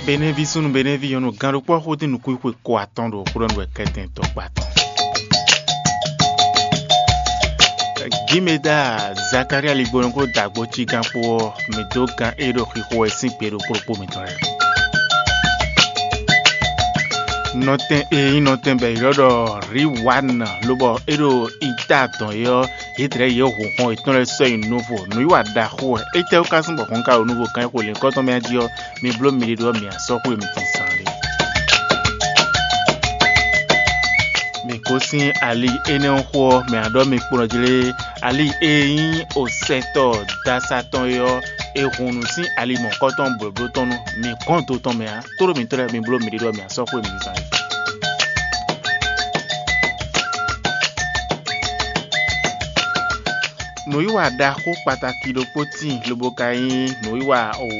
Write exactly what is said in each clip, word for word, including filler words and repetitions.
Benɛví súnnu Benɛví nyɔ̌nu gán ɖokpó ɔ́ xódín nukúnxwe ko atɔn ɖo xó ɖɔ nú wɛ kɛ́tɛn tɔkpa tɔn. Gímeda Zakalía Ligbɔnɔ kpó dǎgbó cígán kpó ɔ́, mǐ dó gán e ɖo xixo wɛ sín gbe ɖokpó ɖokpó mǐtɔn lɛ́ɛ. Nɔtɛn e nyí nɔtɛn bɔ è ylɔ́ ɖɔ Riwan lobɔ é ɖo ita dɔn é ɔ́, yědɛɛ yě hun hɔn yětɔn lɛ́ɛ sɔ́ nyi nuvo. Nǔwiwa ɖaxó wɛ. Étɛ́wú ka zɔ́n bɔ hɔn ka ɖo nuvo kan e xo lǐnkɔ́ tɔn mɛ jí ɔ́, mi bló miɖée ɖó ɔ́, mi asɔ́ xwé mi din zán lé. Mi gosín ali énɛ́ ɔ́ xó ɔ́, mɛ a ɖɔ mi kplɔ́n jlé ali e nyí osɛtɔ dasa tɔn é ɔ́, è hun nǔ sín ali mɔ̌kɔ́tɔn blǒbló tɔn nu. Mi gɔ́n do tɔn mɛ ǎ. Tlóló mǐtɔn lɛ́ɛ, mi bló miɖée ɖɔ mi asɔ́ xwé mi zán lé. Nǔwiwa ɖaxó kpatáki ɖokpó tíin lobo ka nyí nǔwiwa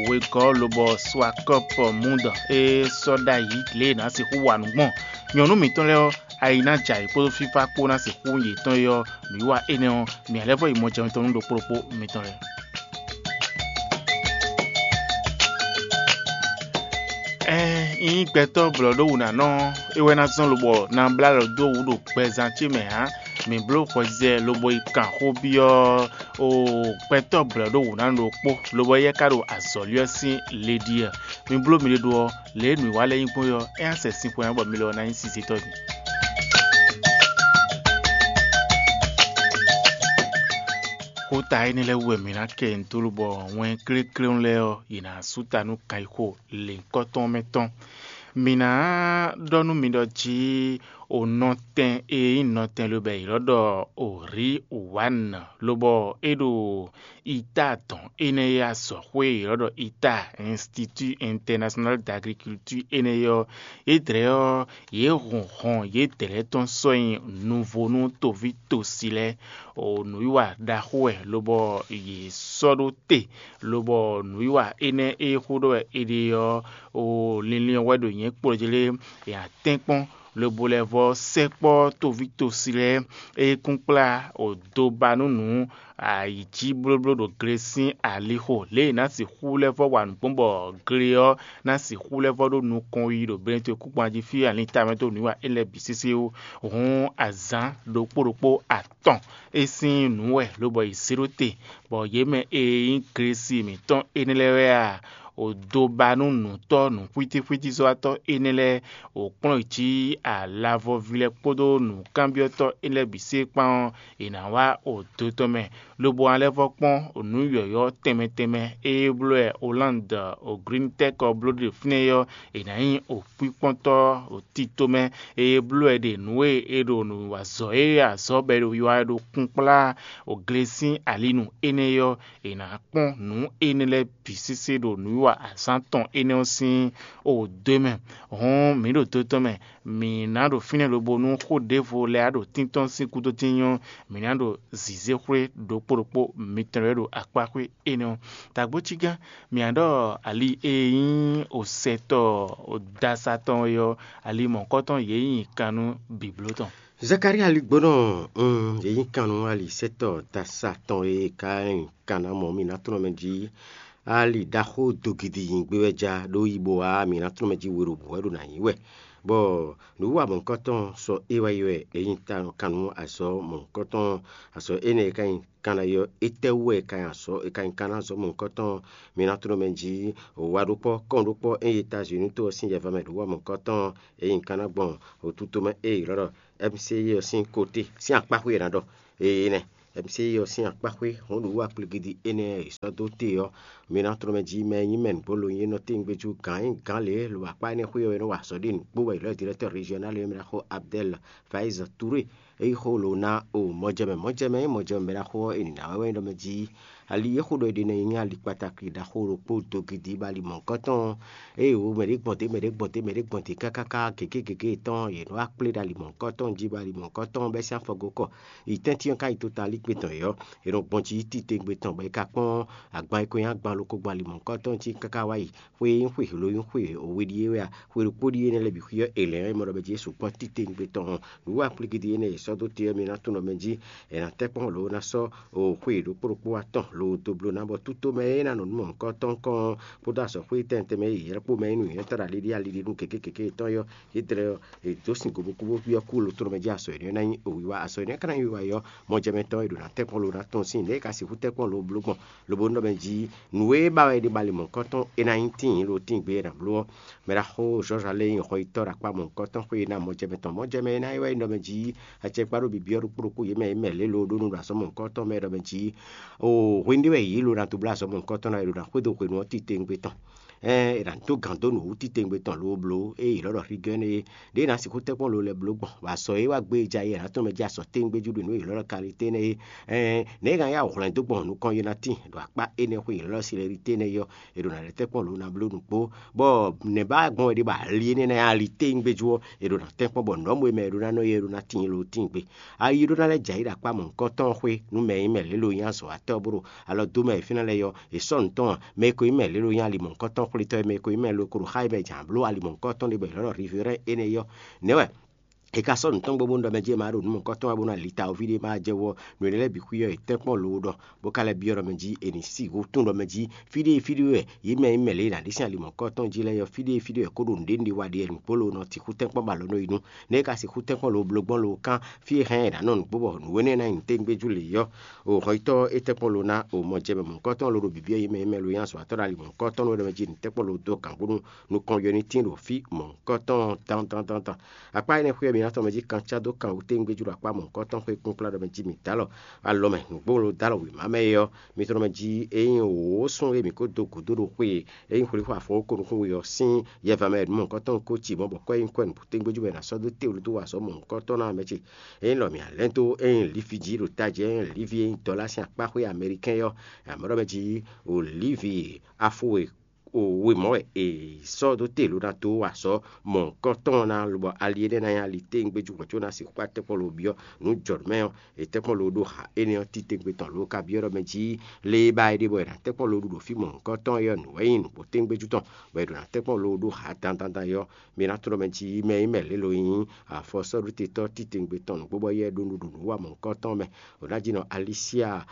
wegɔ́ lobɔ swakɔ́pɔ mundɔ e sɔ́ ɖ'ayǐ lě e è nǎ sixú wa nǔ gbɔn nyɔ̌nu mǐtɔn lɛ́ɛ ɔ́, ayi ná jɛ ayǐ kpódó fífá kpó ná sixú nyí yětɔn é ɔ́, nǔwiwa énɛ́ ɔ́, mǐ lɛ́ vɔ yi mɔjɛmɛ tɔn nú ɖokpó ɖokpó mitɔn lɛ́ɛ. Ɛɛn, nyí gbɛtɔ́ blɔ̌ɖówǔnánɔ é wɛ ná zɔ́n lobɔ ná blá lɔ dó wǔ ɖo gbɛzán ce mɛ ǎ. Mǐ bló hwɛzɛ lobo yi kan xó byɔ́ o gbɛtɔ́ blɔ̌ɖówǔnánɔ ɖokpó, lobɔ éyɛ́ ka ɖo azɔ̌ lwíɛ́ sín le ɖi ɔ́. Mi bló miɖée ɖó ɔ́, lě e nǔwiwa lɛ́ɛ nyí gbɔn é ɔ́, é ná sɛ sin xwe ná bɔ mi lɔ ná nyí sinsɛntɔ́ din. Xóta énɛ́ lɛ́ɛ wú wɛ mǐ ná kɛ nyi dó lobɔ wɛn klékléwún lɛ́ɛ ɔ́, yě ná sú ta nú kayixo lěhunkɔtɔn mɛ tɔn. Mǐ ná ɖɔ nú mi ɖɔ jí o nɔtɛn e nyí nɔtɛn lobɔ è ylɔ́ ɖɔ o Riwan lobɔ é ɖo ita dɔn énɛ́ e azɔ̌xwé e ylɔ́ ɖɔ ita Institut International d'Agriculture énɛ́ ɔ́, yědɛɛ ɔ́, yě hun hɔn yědɛɛ tɔn sɔ́ nyi nuvo nú toví tosi lɛ́ɛ. O nǔwiwa ɖaxó wɛ lobɔ yě sɔ́ ɖó te, lobɔ nǔwiwa énɛ́ e xó ɖɔ wɛ è ɖe ɔ́, o linlin ɔ́ wɛ ɖo nyɛ̌ kplɔ́ jlé, è nǎ tɛ́nkpɔ́n lobo lɛ́ vɔ́ sɛkpɔ́ toví tosi lɛ́ɛ e kún kplá o do ba nú nǔ ayǐjíblóbló ɖo gle sín alixo lě e è nǎ sixú lɛ́ vɔ́ wa nǔ gbɔn bɔ gle ɔ́ ná sixú lɛ́ vɔ́ ɖó nukɔn yi ɖo Benɛtɔ́ kúkpan jí fí alin tamɛ dó nǔ wa é lɛ́ɛ bǐ sésé ó. Hǔn azǎn ɖokpó ɖokpó atɔn é sín nǔ wɛ lobɔ è zě ɖó te, bɔ yě mɛ e nyí Glesi mǐtɔn énɛ́ lɛ́ɛ wɛ a, o do ba nú nǔtɔ́ nǔxwítíxwítízɔ́watɔ́ énɛ́ lɛ́ɛ, o kplɔ́n yě cí alavɔví lɛ́ɛ kpódó nǔkanbyɔ́tɔ́ énɛ́ lɛ́ɛ bǐ sí kpán ɔ́, è nǎ wá o do tɔn mɛ, lobo ná lɛ́ vɔ́ kpɔ́n nǔ yɔ̌yɔ́ tɛnmɛ tɛnmɛ e bló wɛ Olande o Glintɛ́k ɔ́ bló ɖe fínɛ́ é ɔ́, è nǎ nyí o kpíkpɔ́ntɔ́ o tito mɛ e bló wɛ ɖe nǔ e è ɖo nǔ wa azɔ̌ e azɔ̌ bɔ è ɖo wiwa wɛ ɖo kún kplá o gle sín alinu énɛ́ é ɔ́, è nǎ kpɔ́n nǔ énɛ́ lɛ́ɛ bǐ sésé ɖo nǔwiwa azǎn tɔn énɛ́ ɔ́ sín o dó mɛ. Hɔn mǐ ɖo do tɔn mɛ, mǐ ná ɖo fínɛ́ lobo nú xó ɖěvo lɛ́ɛ ɖo tíntɔ́n sín gúdo dín nyɔ́, mǐ ná ɖo zǐzéxwé ɖokpó ɖokpó mitɔn lɛ́ɛ ɖo akpáxwé énɛ́ ɔ́. Dǎgbócígán, mǐ ná ɖɔ ali e nyí osɛtɔ dasa tɔn é ɔ́, ali mɔ̌hunkɔtɔn yě nyi kan nú bǐbló tɔn. Zakalía ligbónɔ, un, yě nyi kan nú alisɛtɔ́ dasa tɔn e ka nyi kan ná mɔ mǐ ná tlɔ́n mɛ jí. Ali ɖaxó dogidi nyi gbé wɛ ja ɖó yi bo wá mǐ ná tlɔ́n mɛ jí we ɖo bǔ wɛ ɖo nǎ nyi wɛ. Bɔ nǔwiwa mɔ̌hunkɔtɔn sɔ é wá yi wɛ, é nyi kan nú azɔ̌ mɔ̌hunkɔtɔn, azɔ̌ énɛ́ e ka nyi kan ná yɔ étɛ́ wú wɛ è ka nyi azɔ̌ è ka nyi kan ná azɔ̌ mɔ̌hunkɔtɔn mǐ ná tlɔ́n mɛ jí. Wa ɖokpɔ́ kɔn ɖokpɔ́ é yi Étazini to ɔ́ sín yɛva mɛ ɖo wa mɔ̌hunkɔtɔn, é nyi kan ná gbɔn wǔtu tomɛ e è ylɔ́ ɖɔ M C I ɔ́ sín kote sín akpáxwé è nǎ ɖɔ. Ee nɛ, M C I ɔ́ sín akpáxwé hɔn ɖo wú akpligidi énɛ́ e è sɔ́ dó te ɔ́, mi ná tlɔ́n mɛ jí mɛ e nyí mɛ nǔgbó lo nyí nɔ téwúngbéjú gǎn nyí gǎn lě lo akpá énɛ́ xwé ɔ́ é nɔ́ wa azɔ̌ ɖi nǔkpó wɛ ylɔ́ directeur régional e mɛ ná xo Abdel Faiz Touré. É yí xó lo ná o mɔjɛmɛ mɔjɛmɛ nyí mɔjɛmɛ mɛ ná xo ɔ́, è nǐ ná wɛ wɛ nyí ɖɔ mɛ jí ali e xó ɖɔ è ɖe nɛ́ nyí ali kpatakli ɖaxó ɖokpó dogidi bɔ ali mɔ̌hunkɔtɔn. Ée wǒ mɛ ɖé gbɔn dě mɛ ɖé gbɔn dě mɛ ɖé gbɔn dě kákáká gěgé gěgé tɔn yě nɔ wá kplé ɖo ali mɔ̌hunkɔtɔn jí bɔ ali mɔ̌hunkɔtɔn bɛ́ sín afɔgó kɔ yi tɛ́ntin ɔ́ ká yi totalígbe tɔn yě ɔ́, è nɔ gbɔn jí titewungbe tɔn bɔ è ka kpɔ́n agban e ko nyí agban ɖokpó gbɔn ali mɔ̌hunkɔtɔn jí káká wá yi. Xwe e nyí xwe hlo nyí xwe we ɖíe wɛ a, xwe ɖokpó ɖíe énɛ́ lɛ́ɛ bǐ xwí ɔ́, è lɛ̌n ɔ́, è mɔ ɖɔ mɛ jí é sukpɔ́ titewungbe tɔn hɔn. Nǔ wa kplígídí énɛ́ e è sɔ́ dó te ɔ́, mi ná tunwun ɖɔ mɛ jí è nǎ tɛ́ kpɔ́n lǒ ná sɔ́ xwe ɖokpó ɖokpó atɔn lǒ ɖo doblo ná bɔ tútomɛ e ná nɔ nú mɔ̌hunkɔtɔn kɔn kpódó azɔ̌xwé tɛntɛn mɛ e yě ylɔ́ kpó mɛ é nú nyǐnyɔ́tɔ́ ɖo ali ɖé ali ɖé nú gěgé gěgé yetɔn ɔ́, yě dlɛ́ ɔ́, è dǒ sin gobokubo byɔ́ kú lotɔ́ mɛ jí azɔ̌ énɛ́ ná nyí wiwa. Azɔ̌ énɛ́ ka ná nyí wiwa ɔ́, mɔjɛmɛtɔ́ e ɖo ná tɛ́nkpɔ́n lo ná tɔ́n sín nɛ̌ é ka sixú tɛ́nkpɔ́n lo bló gbɔn, lobo nú ɖɔ mɛ jí nǔ e ba wɛ è ɖe ba ali mɔ̌hunkɔtɔn é ná nyí tíin lo tíin gbé e è nǎ bló ɔ́. Mɛ ɖaxó Zɔ́zalɛ́ e nyí xɔyítɔ́ ɖo akpá mɔ̌hunkɔtɔn xwé ná mɔjɛmɛ tɔn. Mɔjɛmɛ e ná é wɛ nyí ɖɔ mɛ jí acɛkpá ɖo bibyɔ́ ɖokpó ɖokpó yě mɛ e mɛ lě lo ɖó nú ɖo azɔ̌ mɔ̌hunkɔtɔn mɛ ɖɔ mɛ jí o hwenu ɖé wɛ yě lo ná dó bló azɔ̌ mɔ̌hunkɔtɔn ná, è ɖo ná xwedó hwenu ɔ́ titewungbe tɔn. Ɛn è nǎ dó gǎn dó nǔ wú titewungbe tɔn lo bló, ée è ylɔ́ ɖɔ Rigɛ́n é, ɖěe è nǎ sixú tɛ́nkpɔ́n lo lɛ́ɛ bló gbɔn, bɔ azɔ̌ e wá gbé e ja é è nǎ tɔ́n mɛ jí azɔ̌ tɛ́ngbéjú ɖo nǔ e è ylɔ́ ɖɔ Kalité nɛ́ é. Ɛn nɛ̌ è ná yá hwlɛ̌n dó gbɔn nukɔn Yonatí ɖo akpá énɛ́ xwé è ylɔ́ ɖɔ Silɛritée nɛ́ é ɔ́, è ɖo ná lɛ́ tɛ́nkpɔ́n lo ná bló nǔgbó, bɔ nɛ̌ ba gbɔn wɛ ɖe bɔ ali énɛ́ ná nyí ali tɛ́ngbéjú ɔ́, è ɖo ná tɛ́nkpɔ́n bɔ nǔ ɔ́ mɔ e mɛ è ɖó ná nɔ é é ɖó ná tíin lo tíin gbe. Ayi ɖó ná lɛ́ jɛ ayǐ ɖo akpá mɔ̌hunkɔtɔn xwé nú mɛ e nyí mɛ lě lo nyí azɔ̌watɔ́ bó ɖo alɔ dó mɛ e fínɛ́ lɛ́ɛ é ɔ́, è sɔ́ nǔ tɔn mɛ e ko nyí mɛ lě lo nyí ali mɔ̌hunkɔtɔn xwlétɔ́ e mɛ e ko nyí mɛ lo ko ɖo xá e mɛ jǎn bló ali mɔ̌hunkɔtɔn ɖé bɔ è ylɔ́ ɖɔ Rivirɛ́n énɛ́ é ɔ́. Nɛ̌ wɛ è ka sɔ́ nǔ tɔn gbo bónú ɖɔ mɛ jí è ma ɖo nǔ mɔ̌hunkɔtɔn wɛ bónú ali tawoví ɖé ma jɛ wú ɔ́, nǔ énɛ́ lɛ́ɛ bǐ xwí ɔ́, è tɛ́nkpɔ́n lo ɖɔ bó ka lɛ́ byɔ́ ɖɔ mɛ jí è nǐ sí wǔtún ɖɔ mɛ jí fí ɖé e fí ɖé wɛ yě mɛ e nyí mɛ lě e è nǎ ɖe sín ali mɔ̌hunkɔtɔn jí lɛ́ɛ é ɔ́, fí ɖé e fí ɖé wɛ kó ɖo nǔɖé nǔɖé wa ɖe wɛ nǔgbó lo nɔ sixú tɛ́nkpɔ́n ba lɔ nú é nu. Nɛ̌ é ka sixú tɛ́nkpɔ́n lo bló gbɔn lo kán fí e hɛn è nǎ nɔ nǔgbó bɔ nǔ énɛ́ ná nyi tégbéjú lě é ɔ́, o hɔnyitɔ́ é tɛ́nkpɔ́n lo ná o mɔ jɛ mɛ mɔ̌hunkɔtɔn lo ɖo bǐbí e yě mɛ e mɛ lo nyí azɔ̌watɔ́ ɖo ali mɔ̌hunkɔtɔn nú é ɖɔ mɛ jí nǔ tɛ́nkpɔ́n lo dó gǎngbónú nukɔn yɔ ní tín ɖo fí mɔ̌hunkɔtɔn dandan dandan. Akpá énɛ́ xwé ɔ́, mi ná tɔn mɛ jí kan cá dó kan wú tégbéjú ɖo akpá mɔ̌hunkɔtɔn xwé kpínkplá ɖɔ mɛ jí mǐ dó alɔ alɔ mɛ nǔgbó lo dó alɔ wěma mɛ é ɔ́, mi tɔn mɛ jí ényí wǒ sún e mǐ ko dó gǔdo ɖo xwe e ényí xwlíxwá afɔ ko nukún we ɔ́ sín yɛva mɛ nǔ mɔ̌hunkɔtɔn ko ci mɔ̌ bɔ kɔ́ e nyí kɔ́ nǔbútégbéjú mɛ è nǎ sɔ́ dó te wú dó wa azɔ̌ mɔ̌hunkɔtɔn ná mɛ ce. Ényí lɔ mǐ a lɛ́n dó ényí lífi jí ɖo tají ényí lífi e nyí dɔ̌lá sín akpá xwé amɛlikɛ́n ɔ́, amɔ̌ ɖɔ mɛ jí olívi afo e o we mɔ̌ wɛ è sɔ́ dó te lo ná dó wa azɔ̌ mɔ̌hunkɔtɔn ná lobɔ ali énɛ́ ná nyí ali téngbéjú hwɛ̌ có ná sixú kpá tɛ́nkpɔ́n lo byɔ́ nǔ jɔ nǔ mɛ ɔ́, è tɛ́nkpɔ́n lo ɖó ha énɛ́ ɔ́ titewungbe tɔn lo ka byɔ́ ɖɔ mɛ jí lě e ba è ɖe bɔ è nǎ tɛ́nkpɔ́n lo ɖu ɖo fí mɔ̌hunkɔtɔn ɔ́, é ɔ́ nǔ wɛ nyí nǔgbó téngbéjú tɔn, bɔ è ɖo ná tɛ́nkpɔ́n lo ɖó ha dandan é ɔ́, mi ná tunɔ mɛ jí mɛ e nyí mɛ lě lo nyí afɔsɔ́ɖutetɔ́ titewungbe tɔn nǔgbó bɔ éyɛ́ ɖó nǔɖuɖu wa mɔ̌hunkɔtɔn mɛ. È nǎ jí nɔ Alicia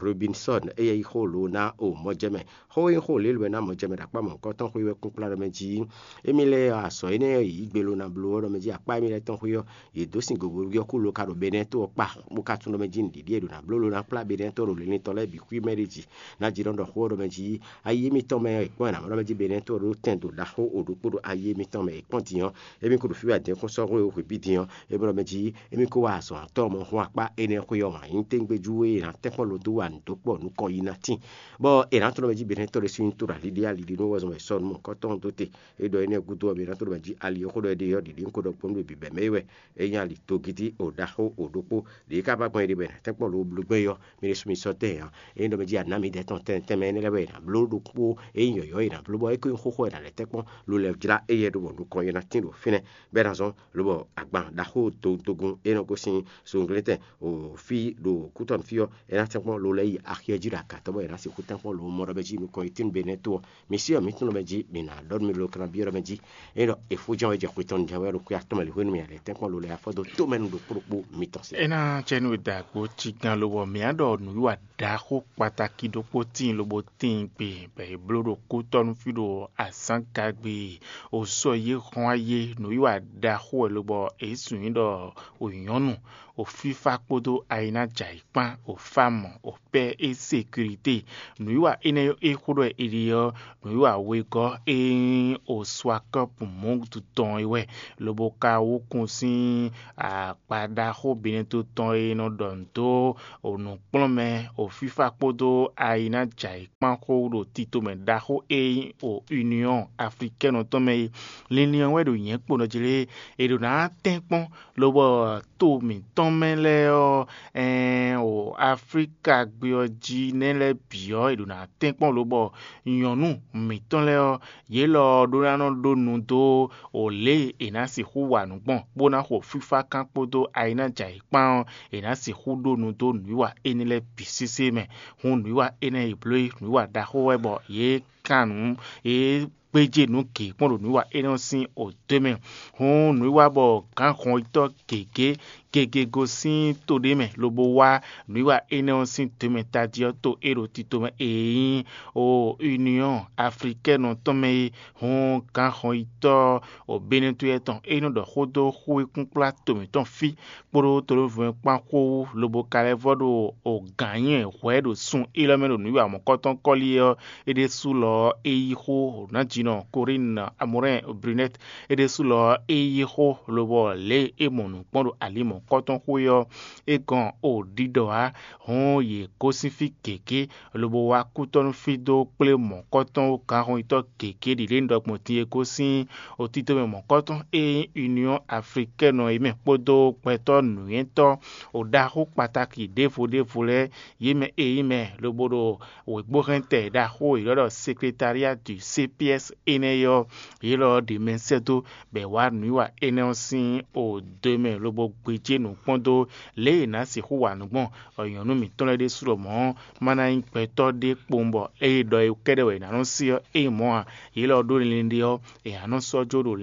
Robinson eye yi xó lo ná o mɔjɛmɛ. Xó e nyí xó lělwɛ ná mɔjɛmɛ ɖo akpá mɔ̌hunkɔtɔn xwé wɛ kún kplá ɖɔ mɛ jí émí lɛ́ɛ azɔ̌ énɛ́ e yě yi gbe lo ná bló ɔ́ ɖɔ mɛ jí akpá émí lɛ́ɛ tɔn xwé ɔ́, yě dó sin gǒgóɖú ɔ́ kú lo ka ɖo Benɛ́ɛ to ɔ́ kpa, bó ka tunɔ mɛ jí nǔɖiɖi e ɖo ná bló lo ná kplá Benɛ́ɛ to ɖo linlin tɔn lɛ́ɛ bǐ xwí mɛ ɖé jí. Ná jí nɔ ɖɔ xó ɔ́ ɖɔ mɛ jí ayi émítɔn mɛ ɔ́, è kpɔ́n ɛ nǎ mɔ ɖɔ mɛ jí Benɛ́ɛ to ɔ́ ɖó tɛn do ɖaxó o ɖokpó ɖo ayi émítɔn mɛ è kpɔ́n din ɔ́, émí ko ɖo fí wɛ adɛ̌nkúnsɔ́xwé e xwǐ bí din ɔ́, é bɔ ɖɔ mɛ jí émí ko wá azɔ̌watɔ́ ɔ́ mɔ hún akpá énɛ́ xwé ɔ́ wǎn nyí téngbéjú e è nǎ tɛ́nkpɔ́n lo dó wa nǔ dó kpɔ nukɔn yi ná tíin, bɔ è nǎ tunɔ mɛ jí Benɛ́ɛ to ɖé sín to ɖo ali ɖé ali ɖé nú wɛ zɔn wɛ sɔ́ nú mɔ̌hunkɔtɔn dó te. É ɖɔ énɛ́ gúdo ɔ́, mi ná to ɖo mɛ jí ali ɔ́ xó ɖɔ é ɖe ɔ́, ɖiɖi un ko ɖɔ gbɔn nú bǐbɛ́ mɛ é wɛ. É nyí ali togídí o ɖaxó o ɖokpó ɖě ka ba gbɔn é ɖe bɔ è nǎ tɛ́nkpɔ́n lo bló gbɛn é ɔ́, mi ɖésú mi sɔ́ tɛ́ ɛ ǎ. É nyí ɖɔ mɛ jí anǎ mi ɖɛ́ tɔn tɛnmɛ tɛnmɛ énɛ́ lɛ́ɛ wɛ è nǎ bló ɖokpó, é nyí yɔ̌yɔ́ è nǎ bló bɔ é ko nyí xóxó è nǎ lɛ́ tɛ́nkpɔ́n lo lɛ́ jlá éyɛ́ ɖó bɔ nukɔn é ná tín ɖo fínɛ́, bɔ é ná zɔ́n lobɔ agban ɖaxó togun é nɔ gosín sunglɛ́ntɛn o fí ɖo kútɔ́nú fí ɔ́, é ná tɛ́nkpɔ́n lo lɛ́ yi axi ɔ́ jí ɖo agatɔ́ bɔ è nǎ sixú tɛ́nkpɔ́n lo mɔ ɖɔ mɛ jí nukɔn yi tín Benɛ́ to ɔ́. Mi sí ɔ́, mǐ tunwun mɛ jí, mǐ ná ɖɔ nú mi lo kan byɔ́ ɖɔ mɛ jí. Ényí ɖɔ è fó jɛ́n wɛ jɛ xwe tɔn jɛ́n wɛ ɖo xwe atɔ́ mɛ lě hwenu mɛ a lɛ̌ tɛ́nkpɔ́n lo lɛ́ɛ afɔ dó tómɛ nú ɖokpó ɖokpó mitɔn se. É ná cɛ nú è da àgbo cígán lobɔ mǐ á ɖɔ nǔwiwa ɖaxó kpatákí ɖokpó tíin lobo tíin gbe bɔ è bló ɖo kútɔ́nú fí ɖo azǎngagbe. O sɔ yě hɔn ayé nǔwiwa ɖaxó wɛ lobɔ è sun nyí ɖɔ o nyɔ̌nu, o fífá kpódó ayinájǎyi kpán, o fámɔ, o pɛ́ é sekirité. Nǔwiwa énɛ́ e xó ɖɔ è ɖe ɔ́, nǔwiwa wegɔ́ e nyí o swakɔ́pu mɔ̌gutu tɔn é wɛ, lobo ka wú kun sín akpa ɖaxó Benɛ́to tɔn e nɔ ɖɔ nǔ dó o nǔkplɔ́nmɛ, o fífá kpódó ayinájǎyi kpán xó ɖo tito mɛ ɖaxó e nyí o Union Africaine ɔ́ tɔn mɛ é. Linlin ɔ́ wɛ ɖo nyɛ̌ kpo nɔ jlé, è ɖo ná tɛ́nkpɔ́n lobɔ to mǐtɔn mɛ lɛ́ɛ ɔ́, ɛɛn o Aflíka gbé ɔ́ jí nɛ́ lɛ́ɛ bǐ ɔ́, è ɖo ná tɛ́nkpɔ́n lobɔ nyɔ̌nu mǐtɔn lɛ́ɛ ɔ́, yě lɔ ɔ́ ɖó ná nɔ ɖó nu dó o lě e è nǎ sixú wa nǔ gbɔn, bó ná xo fífá kán kpódó ayinájǎyi kpán ɔ́, è nǎ sixú ɖó nu dó nǔwiwa énɛ́ lɛ́ɛ bǐ sésé mɛ. Hǔn nǔwiwa énɛ́ e bló é nǔwiwa ɖaxó wɛ bɔ yě kan nǔ, yě gbéjé nǔ gěgé kpɔ́n ɖo nǔwiwa énɛ́ ɔ́ sín odó mɛ. Hǔn nǔwiwa bɔ gǎnhɔnyitɔ́ gěgé gege gosín to ɖé mɛ lobo wá nǔwiwa énɛ́ ɔ́ sín dǒmɛ tají ɔ́ to é ɖo tito mɛ e nyí o Union Africaine tɔn mɛ é. Hǔn gǎnhɔnyitɔ́ o Benɛtúyɛ tɔn é nɔ ɖɔ xó dó xú e kúnkplá to mǐtɔn fí kpódó tolóvɔ́ kpán xó wú lobo ka lɛ́ vɔ́ ɖo o gǎn nyi hwɛ̌ ɖo sun élɔ́ mɛ ɖo nǔwiwa mɔ̌kɔtɔn kɔ́li ɔ́, é ɖésú lɔ ɔ́, é yí xó nǎjínɔ Corinne Amorin Brunette. É ɖésú lɔ ɔ́, é yí xó lobɔ lě e é mɔ nǔ kpɔ́n ɖo ali mɔ̌kɔtɔn xwé ɔ́, é gɔn o ɖiɖɔ ǎ. Hǔn yě gosín fí gěgé lobo wá kútɔ́nú fí dó kplé mɔ̌kɔtɔn gǎnhɔnyitɔ́ gěgé ɖi ɖě un ɖɔ gbɔn din e gosín o tito mɛ mɔ̌kɔtɔn e nyí Union Africaine ɔ́ é mɛ kpódó gbɛtɔ́ nǔnywɛ́tɔ́ o ɖaxó kpatáki ɖěvo ɖěvo lɛ́ɛ, yě mɛ e nyí mɛ lobo ɖo wěgbóhɛntɛ ɖaxó e ylɔ́ ɖɔ Secrétariat du C P S énɛ́ ɔ́, yě lɔ ɔ́ ɖe mɛ sɛ́ dó bɔ è wá nǔwiwa énɛ́ ɔ́ sín o do e mɛ lobo gbéjé nǔ kpɔ́n dó lě e è nǎ sixú wa nǔ gbɔn. Bɔ nyɔ̌nu mǐtɔn lɛ́ɛ ɖésú lɔmɔ̌ ɔ́, ma ná nyí gbɛtɔ́ ɖé kpowun bɔ ée ɖɔ é kɛ́ɖɛ́ wɛ è nǎ nɔ́ sí ɔ́, é nyí mɔ̌ ǎ. Yě lɔ ɔ́ ɖó linlin ɖé ɔ́, è nǎ nɔ́ sɔ́ jó ɖo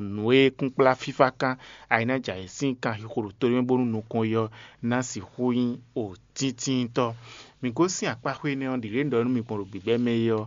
nǔ e kúnkplá fífá kán, a e ná jɛ ayǐ sín kanxixo ɖo to ɖé mɛ bónú nukɔn yi ɔ́ ná sixú nyí o tíntíntɔ́. Mǐ gosín akpáxwé énɛ́ ɔ́, ɖǐɖě un ɖɔ nú mi gbɔn ɖo gbǐgbɛ́ mɛ é ɔ́,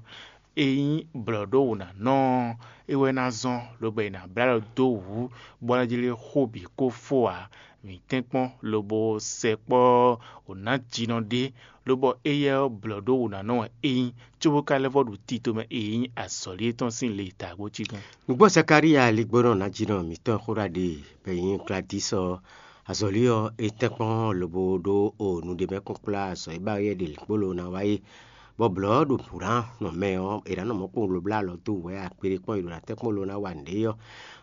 é nyí blɔ̌ ɖó wǔ ná nɔ ɔ́, é wɛ ná zɔ́n, lobo è nǎ blá lɔ dó wǔ, bɔ ná jlé xó bǐ kó fó ǎ. Mǐ tɛ́nkpɔ́n lobo sɛkpɔ́ wǒ ná jinɔ ɖé, lobɔ éyɛ́ ɔ́ blɔ̌ ɖó wǔ ná nɔ wɛ é nyí, cóbó ka lɛ́ vɔ́ ɖo tito mɛ e nyí azɔ̌li étɔn sín le e ta gbo cí gán. Nǔgbó Zakalíya ligbónɔ ná jinɔ mǐtɔn xó ɖa ɖe bɔ è nyí Gladísɔ azɔ̌li ɔ́, é tɛ́nkpɔ́n lobo ɖó o nǔɖé mɛ kɔn kplá azɔ̌ e ba yɛ ɖe lǐkpólo ná wa é. Bɔ blɔ̌ ɖo nǔɖánɔ mɛ ɔ́, è nǎ nɔ mɔ̌ kpowun loblá alɔ dó wǔ wɛ akpéɖé kpɔ́n è ɖo ná tɛ́nkpɔ́n lo ná wa nǔɖé ɔ́.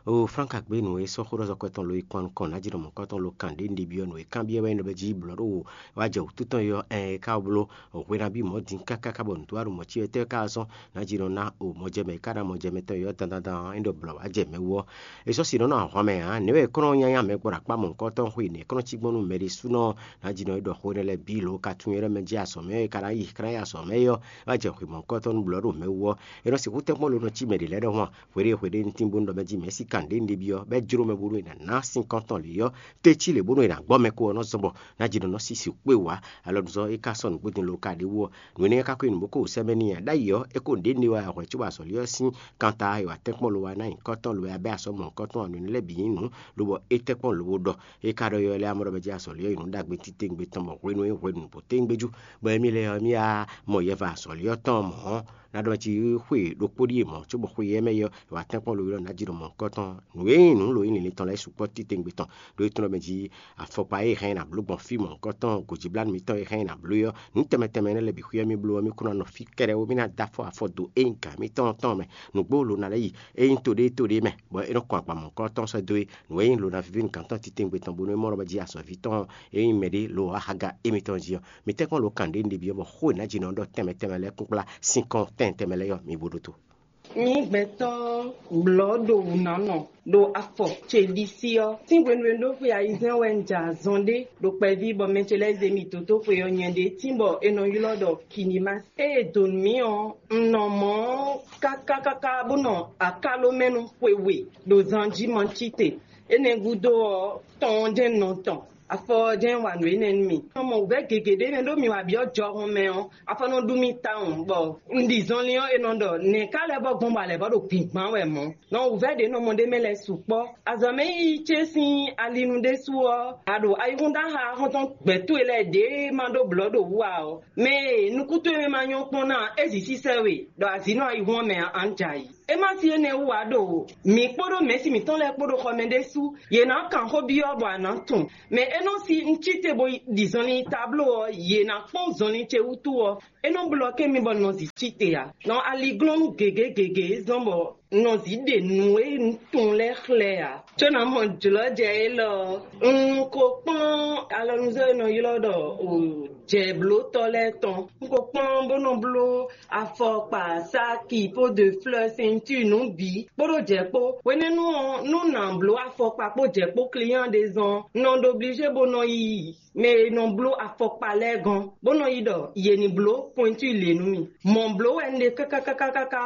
O Flánka gbé nǔ e sɔ́ xó ɖɔ zɔkɔ tɔn lo yi kɔn nukɔn ná jínɔ mɔ̌kɔtɔn lo kan ɖě un ɖe byɔ́ nǔ e kanbyɔ́ wɛ nyí ɖɔ bɛ́ jí blɔ̌ ɖo wá jɛ wǔtu tɔn yi ɔ́, ɛn é ka wá bló hwe ná bí mɔ̌ din káká bɔ nǔtɔ́ wá ɖo mɔ̌ cí wɛ tɛ́ ká wá zɔ́n ná jínɔ ná o mɔjɛmɛ e ka ná mɔjɛmɛ tɔn yi ɔ́ dandan dan ɔ́, é ɖɔ blɔ̌ wá jɛ mɛ wú ɔ́. É sɔ́ si nɔ nɔ ahwan mɛ ǎ, nɛ̌ wɛ é kɔn nɔ nyanya mɛ gbɔ ɖo akpá mɔ̌hunkɔtɔn xwe nɛ̌ kɔn nɔ cí gbɔn nú mɛ ɖésúnɔ ná jínɔ é ɖɔ xó énɛ́ lɛ́ɛ bǐ lǒ ka tunwun é lɛ́ mɛ jí azɔ̌ mɛ é ka ná yi ka ná yi azɔ̌ mɛ é ɔ́, é wá jɛ hwe mɔ̌hunkɔtɔn nú blɔ̌ ɖo mɛ wú ɔ́. É nɔ sixú tɛ́nkpɔ́n ló nɔ cí mɛ ɖě lɛ́ɛ ɖɔhun a? Hweɖée hweɖée ntín bónú ɖɔ mɛ jí mɛ̌si kan ɖě un ɖe byɔ́, bɔ é jló mɛ bónú è nǎ ná sín kɔn tɔn lě ɔ́, tɛ́ cí lě bónú è nǎ gbɔ mɛ kó ɔ́ nɔ́ zɔ́n bɔ ná jínɔ nɔ sisi xwé wǎ. Alɔnuzɔn é ka sɔ́ nǔgbó din lo ka ɖě wú ɔ́, nǔ énɛ́ ka ko nyi nǔ bó ko wǔ sɛ́ mɛ n'i ǎ. Ɖ'ayǐ ɔ́, é ko ɖě ɖe wá hwɛ̌ cóbɔ azɔ̌li ɔ́ sín kanta e wa tɛ́nkpɔ́n lo wá ná nyi kɔ́tɔn lo wá bɛ́ asɔ́ mɔ̌hunkɔtɔn ɔ́, nǔ énɛ́ lɛ́ɛ bǐ nyí nǔ, lobɔ é tɛ́nkpɔ́n lo wó ɖɔ. É ka ɖɔ yɔ lɛ́ɛ amɔ̌ ɖɔ mɛ jí azɔ̌li ɔ́ yi nǔ ɖagbe titewungbe tɔn bɔ hwenu e hwenu bó tewungbe jú, bɔ émí lɛ́ɛ ɔ́, émí wá mɔ yɛva azɔ̌li ɔ́ tɔn mɔ̌ ɔ́, ná ɖɔ mɛ jí xwe ɖokpó ɖíe mɔ̌, cóbɔ xwe yɛ mɛ yɔ è wǎ tɛ́nkpɔ́n lo ylɔ́ ná jí ɖo mɔ̌hunkɔtɔn. Nǔ e nyí nǔ lo nyí linlin tɔn lɛ́ɛ sukpɔ́ titewungbe tɔn, ɖó é tlɔ́n mɛ jí afɔkpa e hɛn nyi nǎ bló gbɔn fí mɔ̌hunkɔtɔn gǒjíblánú mǐtɔn e hɛn nyi nǎ bló é ɔ́, nǔ tɛnmɛ tɛnmɛ énɛ́ lɛ́ɛ bǐ xwíyɛ́ mì bló ɔ́, mì kún ná nɔ fí kɛ́ɖɛ́ ó, mì ná dó afɔ afɔ dó é nyí gǎn mǐtɔn tɔn mɛ. Nǔgbó lo ná lɛ́ yi, é nyí to ɖé to ɖé mɛ, bɔ é nɔ kɔn agban mɔ̌hunkɔtɔn sɔ́ dó é. Nǔ e nyí lo ná víví nú gǎn tɔn titewungbe tɔn bónú é mɔ ɖɔ mɛ jí azɔ̌ví tɔn e nyí mɛɖé lo wá haga émítɔn jí ɔ́, mi tɛ́nkpɔ́n lo kan ɖě un ɖe byɔ́ bɔ xó e nǎ jǐnɔ ɔ́ ɖɔ tɛnmɛ tɛnmɛ lɛ́ɛ kúnkplá sín kɔn tɛn tɛnmɛ lɛ́ɛ ɔ́, mi bo ɖótó. Mi gbɛtɔ́ blɔ̌ ɖo wǔnánɔ ɖo afɔ ce ɖisí ɔ́, sín hwenu e un ɖó xwe ayizɛ́n wɛ un jɛ azɔn ɖé ɖo kpɛví bɔ mɛ ce lɛ́ɛ zé mì dó dó xwe ɔ́ nyɛ ɖě tínbɔ è nɔ ylɔ́ ɖɔ Kinimasi. Ée è dǒ nú mì ɔ́, un nɔ mɔ̌ káká káká bó nɔ akáló mɛ nú xwe we ɖo zan jí Mancíte. Énɛ́ gúdo ɔ́, tɔn ɔ́ jɛ́n un nɔ tɔn, afɔ ɔ́ jɛ́n wa nǔ énɛ́ nú mì. Un mɔ wǔvɛ́ gěgé ɖé mɛ ɖó mi wa byɔ́ jɔhɔn mɛ ɔ́, afɔ nɔ ɖu mì tawun, bɔ un ɖi zɔnlin ɔ́, è nɔ ɖɔ nɛ̌ ká lɛ́ bɔ gbɔn bɔ a lɛ̌ bɔ ɖo gbǐngbán wɛ mɔ̌. Nɔ wǔvɛ́ ɖě nɔ mɔ ɖ'é mɛ lɛ́ɛ sukpɔ́. Azɔ̌ mɛ yíyí ce sín alinu ɖésú ɔ́, a ɖo ayihún dó axaxɔ́ntɔn gbɛ̌ towe lɛ́ɛ ɖě ma ɖó blɔ̌ ɖo wú ǎ ɔ́, mɛ e nukún towe mɛ ma nyɔ́ kpɔ́n ná ɔ́, é zǐ sísɛ́ we ɖɔ a zǐ nɔ ayihún ɔ́ mɛ ǎ, a nǎ jɛ ayǐ. É má sí énɛ́ wú ǎ ɖo mǐ kpódó mɛ̌si mǐtɔn lɛ́ɛ kpó ɖo xɔ mɛ ɖésú. Yě ná kan xó byɔ́ bɔ a nǎ tunwun. Mɛ e nɔ sí un cí te bo ɖi zɔnlin tabló ɔ́, yě ná kpɔ́n zɔnlin ce wútu ɔ́, é nɔ blɔ́ kɛ́n mì bɔ un nɔ zǐ cí te ǎ. Nɔ aliglɔ́nú gěgé gěgé zɔ́n bɔ Un nɔ zǐ ɖe nǔ e un tunwun lɛ́ɛ xlɛ́ ǎ, có ná mɔ jlɔ̌jɛ élɔ́. Un ko kplɔ́n alɔnuzɔ́ e nɔ ylɔ́ ɖɔ jɛ̌blótɔ́ lɛ́ɛ tɔn. Un ko kplɔ́n bó nɔ bló afɔkpa, sáki, po de fleurs, ceinture, nǔ bǐ kpódó jɛ̌ kpó. Hwenɛ́nu ɔ́, nú nǎ bló afɔkpa kpó jɛ̌ kpó client ɖé zɔn, un nɔ ɖo obligé bó nɔ yi mɛ e nɔ bló afɔkpa lɛ́ɛ gɔ́n, bó nɔ yi ɖɔ yě ní bló pointure lě nú mì. Mɔ̌ bló wɛ un ɖe káká káká káká,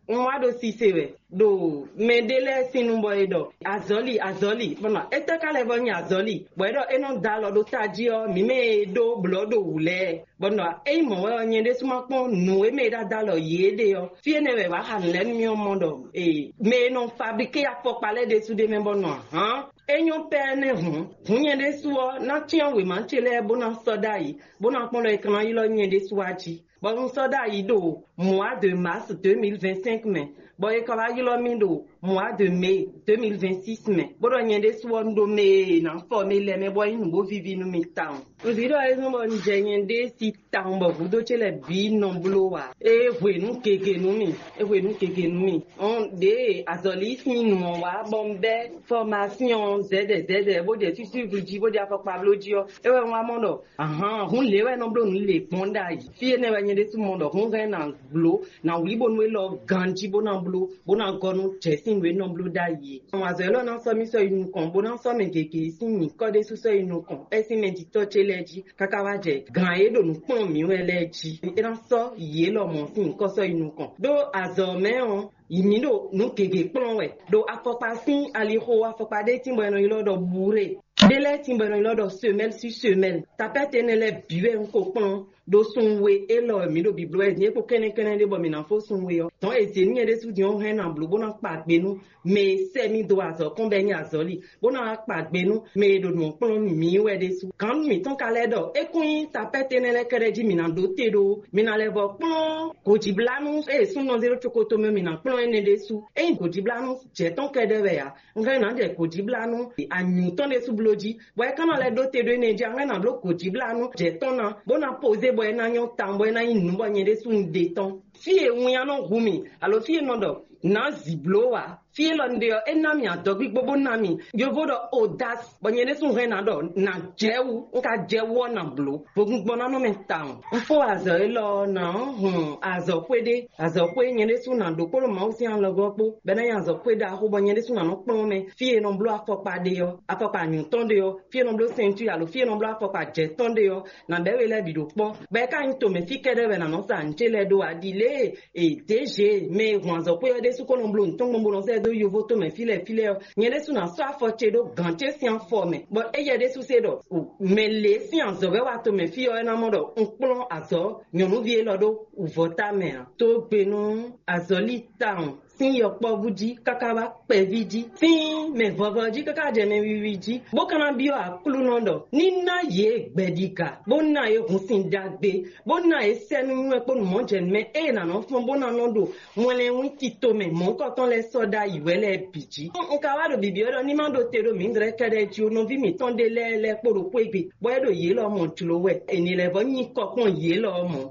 un wá ɖo sise wɛ ɖo mɛ ɖé lɛ́ɛ sín nu bɔ è ɖɔ azɔ̌li azɔ̌li, bɔ nɔ étɛ́ ka lɛ́ vɔ nyi azɔ̌li, bɔ é ɖɔ é nɔ da alɔ ɖó tají ɔ́, mǐ mɛ e ɖó blɔ̌ ɖo wǔ lɛ́ɛ, bɔ nɔ ényí mɔ̌ wɛ ɔ́, nyɛ ɖésú ma kpɔ́n nǔ e mɛ e ɖo ada alɔ yě ɖe ɔ́, fí énɛ́ wɛ è wǎ xa nǔ lɛ́ɛ nú mì ɔ́ mɔ ɖɔ ee mɛ e nɔ fablíké afɔkpa lɛ́ɛ ɖésú ɖ'é mɛ bɔ nɔ ahán. É nyɔ́ pɛ́nɛ́ hǔn, hǔn nyɛ ɖésú ɔ́, ná cyán wěma ce lɛ́ɛ bó ná sɔ́ ɖ'ayǐ, bó ná kpɔ́n ɖɔ è ka ná ylɔ́ nyɛ ɖésú wá jí. Bɔ un sɔ́ ɖ'ayǐ ɖo mois de mars deux mille vingt-cinq mɛ, bɔ è ka wá ylɔ́ mì ɖo mois de mai deux mille vingt-six mɛ, bó ɖɔ nyɛ ɖésú ɔ́, un ɖo mɛ e è nǎ fɔ mɛ lɛ́ɛ mɛ bɔ é nyí nǔ bó víví nú mì tawun. Un vǐ ɖɔ é zɔ́n bɔ un jɛ nyɛ ɖée sí tawun bɔ hǔndó ce lɛ́ɛ bǐ nɔ bló ǎ. É hwe nǔ gěgé nú mì, é hwe nǔ gěgé nú mì. Ɔn ɖěe azɔ̌lí sín nǔ ɔ́ wá bɔ un bɛ́ fɔmasyɔn zɛ̌dɛ̌ zɛ̌dɛ̌ bó ɖe fífívu jí bó ɖe afɔkpa bló jí ɔ́, é wɛ un wá mɔ ɖɔ ahan, hǔn lě wɛ nɔ bló nǔ lě gbɔn ɖ'ayǐ. Fí énɛ́ wɛ nyɛ ɖésú mɔ ɖɔ hǔn hɛn ná bló ná wlí bónú élɔ́ ganjí bó ná bló bó ná gɔ́ nú jɛ̌ sín nǔ e nɔ bló ɖ'ayǐ é. Azɔ̌ élɔ́ ná sɔ́ mì sɔ́ yi nukɔn, bó ná sɔ́ mɛ gěgé sín nyǐkɔ ɖésú sɔ́ yi nukɔn, é sín mɛjitɔ́ ce lɛ́ɛ jí, káká wá jɛ gǎn e ɖo nǔ kplɔ́n mǐ wɛ lɛ́ɛ jí. É ná sɔ́ yě lɔmɔ̌ sín nyǐkɔ sɔ́ yi nukɔn. Ɖó azɔ̌ mɛ ɔ́, mǐ ɖo nǔ gěgé kplɔ́n wɛ, ɖo afɔkpa sín alixo, afɔkpa ɖé tín bɔ è nɔ ylɔ́ ɖɔ buré. Ɖé lɛ́ɛ tín bɔ è nɔ ylɔ́ ɖɔ semɛ́l sú semɛ́l. Tapɛ́ti énɛ́ lɛ́ɛ bǐ wɛ un ko kplɔ́n ɖó sun we élɔ́ wɛ mǐ ɖo bǐbló wɛ din é kpo kɛ́nnɛ́kɛ́nnɛ́ ɖé bɔ mǐ ná fó sun we ɔ́. Dɔ̌n è zě nú nyɛ ɖésú din ɔ́ hɛn ná bló bó ná kpa gbe nú mɛ e sɛ́ mì dó azɔ̌ kɔn bɔ é nyí azɔ̌li, bó ná wá kpa gbe nú mɛ e ɖo nǔ kplɔ́n mǐ wɛ ɖésú. Gǎn mǐtɔn ka lɛ́ ɖɔ é kún nyí tapɛ́ti énɛ́ lɛ́ɛ kɛ́ɖɛ́ jí mǐ ná ɖó te ɖó ó. Mǐ ná lɛ́ vɔ kplɔ́n gǒjíblánú e súnnu zé ɖó cokoto mɛ mǐ ná kplɔ́n énɛ́ ɖésú. Ényí gǒjíblánú jɛ̌ tɔn kɛ́ɖɛ́ wɛ ǎ, un hɛn nǎ jɛ gǒjíblánú anyǔ tɔn ɖésú bló jí, bɔ é ka ná lɛ́ ɖó te ɖó énɛ́ jí, un hɛn ná bló gǒjíblánú jɛ̌ tɔn ná, bó ná pozé bɔ é ná nyɔ́ tawun, bɔ é ná nyí nǔ bɔ nyɛ ɖésú un ɖe tɔn. Fí e winnyá nɔ hu mì, alo fí e nɔ ɖɔ nǎ zǐ bló ǎ, fí élɔ́ un ɖe ɔ́, é ná mì adɔgbígbó bó ná mì yovo ɖɔ odas, bɔ nyɛ ɖésú hɛn ná ɖɔ nǎ jɛ wú, un ka jɛ wú ɔ́ nǎ bló. Vodúngbɔ́nánɔ mɛ tawun. Un fó azɔ̌ élɔ́ ɔ́, nǎ hun azɔ̌xwé ɖé, azɔ̌xwé nyɛ ɖésú ná ɖó kpódó Mawu sín alɔgɔ́ kpó, bɔ é ná nyí azɔ̌xwé ɖaxó, bɔ nyɛ ɖésú ná nɔ kplɔ́n mɛ. Fí e nɔ bló afɔkpa ɖe ɔ́, afɔkpa nyǔtɔn ɖe ɔ́, fí e nɔ bló sɛntúi alo fí e nɔ bló afɔkpa jɛ̌tɔn ɖe ɔ́, nǎ bɛ́ we lɛ́ɛ bǐ ɖo kpɔ́. Bɔ é ka nyí tomɛ fí kɛ́ɖɛ́ wɛ nǎ nɔ sa nǔ ce lɛ́ɛ ɖó ǎ. Ɖi lě e děže mɛ e hun azɔ̌xwé ɔ́ ɖésú ko nɔ bló nǔ tɔn gbɔn bó nɔ sɛ́ dó yovo tomɛ fí lɛ́ɛ fí lɛ́ɛ ɔ́, nyɛ ɖésú ná sɔ́ afɔ ce ɖó gǎn ce sín afɔ mɛ, bɔ éyɛ́ ɖésú se ɖɔ mɛ lě sín azɔ̌ wɛ wá tomɛ fí ɔ́, é ná mɔ ɖɔ un kplɔ́n azɔ̌ nyɔ̌nuví élɔ́ ɖó wǔvɔ́ ta mɛ ǎ. Tó gbe nú azɔ̌li tawun sín yɔkpɔ́vú jí káká wá kpɛví jí, sín mɛ vɔvɔ jí káká jɛ mɛ wiwi jí, bó ka ná byɔ́ Aklúnɔ ɖɔ ní ná yě gbɛɖiga, bó ná yě hun sin ɖagbe, bó ná yě sɛ nú nywɛ́ kpó nǔmɔjɛnúmɛ e è nǎ nɔ fɔ́n bó ná nɔ ɖo mɔlɛnwín tito mɛ mɔ̌hunkɔtɔn lɛ́ɛ sɔ́ ɖ'ayǐ wɛ lɛ́ɛ bǐ jí. Un ka wá ɖo bibyɔ́ ɖɔ ní má ɖo te ɖó mǐdɛɛ kɛ́ɖɛ́ jí ó, nɔví mǐtɔn ɖé lɛ́ɛ lɛ́ kpo ɖo xwé gbe, bɔ é ɖo yě lɔ mɔ jlǒ wɛ, è nǐ lɛ́ vɔ́ nyi kɔ kpɔ́n yě lɔ mɔ̌.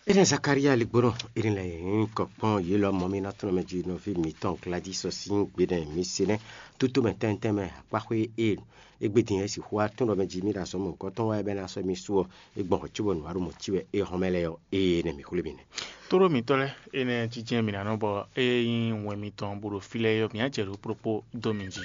Énɛ́ Zakalía ligbónɔ, énɛ́ lɛ́ɛ nyí kɔ kpɔ́n yě lɔ mɔ̌ mì ná tɔ́n mɛ jí nɔví mǐtɔn Gladys ɔ́ sín gbe nɛ́ mi se nɛ́. Tótó mɛ tɛ́ntɛ́n mɛ akpáxwé e égbé din é sixú wá tún ɖɔ mɛ jí mì ɖo azɔ̌ mɔ̌hunkɔtɔn wá é bɛ́ ná sɔ́ mì su ɔ́, é gbɔn hwɛ̌ cóbɔ nǔ wá ɖo mɔ̌ cí wɛ é hɔn mɛ lɛ́ɛ ɔ́, éyɛ́ nɛ́ mǐ xwlé mì nɛ́. Tóɖó mǐtɔn lɛ́ɛ, énɛ́ jínjɛ́n mǐ ná nɔ bɔ é nyí wɛn mitɔn bó ɖo fí lɛ́ɛ ɔ́, mǐ á jɛ ɖo kplɔ́kpó dó mi jí.